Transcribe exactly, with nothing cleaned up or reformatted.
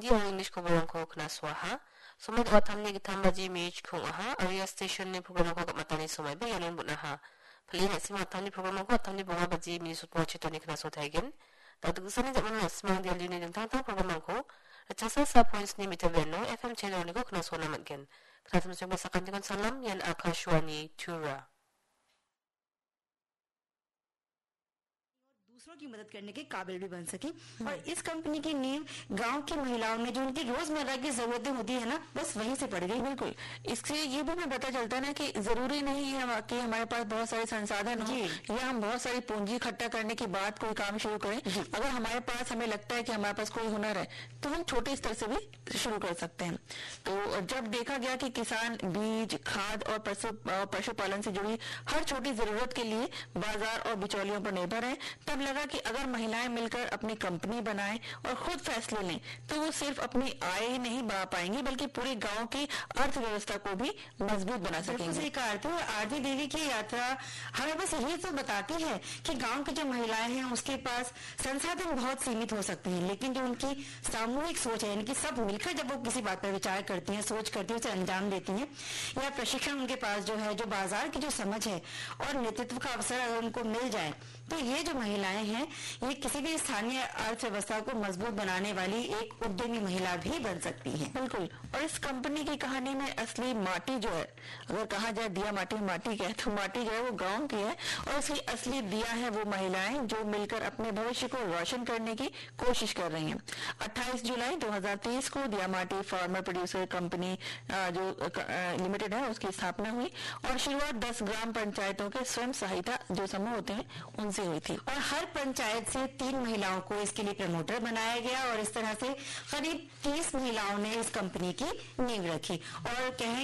Hindi aro English koborongko knasoaha. Somoi do·atamni gittam baji minit chikong aha, aro ia stationni programrangko gam·atani somaiba iano bon·aha. Pile na·sima atamni programrangko atamni bonga baji minit sotbo chetoni knaso taigen. Dal·giksani ja·mano na·simang Delhini dingtang dingtang programrangko ritchasa sa point sni meter band-o F M channel-oniko knasoana man·gen. Knatimsengba sakantikon salam, ian Akashvani Tura. दूसरों की मदद करने के काबिल भी बन सके। और इस कंपनी की नींव गांव की महिलाओं में जो उनकी रोजमर्रा की जरूरतें होती है ना, बस वहीं से पड़ गई। बिल्कुल। इससे ये भी हमें पता चलता है ना कि जरूरी नहीं है हम, कि हमारे पास बहुत सारे संसाधन हो जी। या हम बहुत सारी पूंजी इकट्ठा करने के बाद कोई काम शुरू करें। जी। अगर हमारे पास, हमें लगता है कि हमारे पास कोई हुनर है, तो हम छोटे स्तर से भी शुरू कर सकते हैं। तो जब देखा गया कि किसान बीज, खाद और पशु, अ, पशुपालन से जुड़ी हर छोटी जरूरत के लिए बाजार और बिचौलियों पर निर्भर है, तब लगा कि अगर महिलाएं मिलकर अपनी कंपनी बनाएं और खुद फैसले लें, तो वो सिर्फ अपनी आय ही नहीं बढ़ा पाएंगी, बल्कि पूरे गांव की अर्थव्यवस्था को भी मजबूत बना बिल्कुल सकेंगी। सही कहा आरती। और आरती देवी की यात्रा हमें बस यही तो बताती है कि गांव की जो महिलाएं हैं, उसके पास संसाधन बहुत सीमित हो सकते हैं, लेकिन जो उनकी सामूहिक सोच है, यानी कि सब मिलकर जब वो किसी बात पर विचार करती हैं, सोच करती हैं, उसे अंजाम देती हैं, या प्रशिक्षण उनके पास जो है, जो बाजार की जो समझ है और नेतृत्व का अवसर अगर उनको मिल जाए, तो ये जो महिलाएं हैं, ये किसी भी स्थानीय अर्थव्यवस्था को मजबूत बनाने वाली एक उद्यमी महिला भी बन सकती हैं। बिल्कुल। और इस कंपनी की कहानी में असली माटी जो है, अगर कहा जाए दिया माटी माटी क्या है, तो माटी जो है वो गांव की है और उसकी असली दिया है वो महिलाएं जो मिलकर अपने भविष्य को रोशन करने की कोशिश कर रही हैं। अट्ठाईस जुलाई दो हज़ार तेईस को दिया माटी फार्मर प्रोड्यूसर कंपनी, अ, जो, अ, क-, अ, लिमिटेड है, उसकी स्थापना हुई और शुरुआत दस ग्राम पंचायतों के स्वयं सहायता जो समूह होते हैं, उनसे हुई थी। और हर पंचायत से तीन महिलाओं को इसके लिए प्रमोटर बनाया गया और इस तरह से करीब तीस महिलाओं ने इस कंपनी की नींव रखी। और कहें